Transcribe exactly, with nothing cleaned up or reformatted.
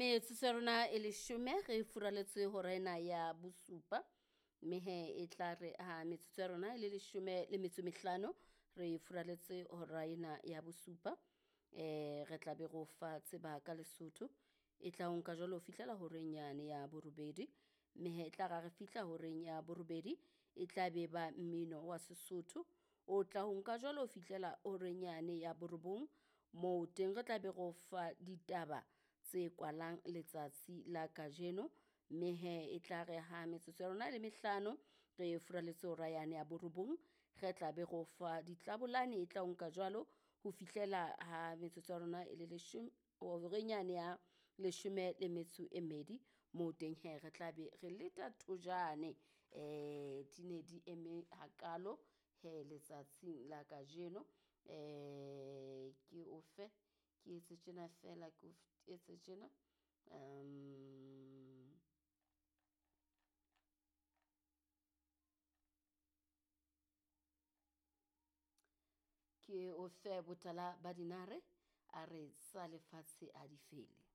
Metsotso ya rona e leshome re furaletse hora ena ya bosupa, mme he e tla re ha metsotso ya rona e le leshome le metso e mehlano re furaletse hora ena ya bosupa. Eh re tla be re o fa tseba ka Lesotho e tla o nka jwalo ho fihlela horeng yane ya borobedi, mme he e tla ra re fihla horeng ya borobedi e tla be ba mmino wa Sesotho o tla o nka jwalo ho fihlela horeng yane ya borobong, moo teng re tla be re o fa ditaba tse kwalang letsatsi la kajeno. Mme he e tla re ha metsotso ya rona e le mehlano re furaletse hora yane ya borobong, re tla be re o fa ditlabolane e tla o nka jwalo ho fihlela ha metsotso ya rona e le leshome horeng yane ya leshome le metso e mmedi. Moo teng he re tla be re leta thojane eh di ne di eme hakalo he letsatsing la kajeno. Eh ke o fe ke etse tjena feela ke o etse tjena um ke o fe botala ba dinare a re tsa lefatshe a di fele.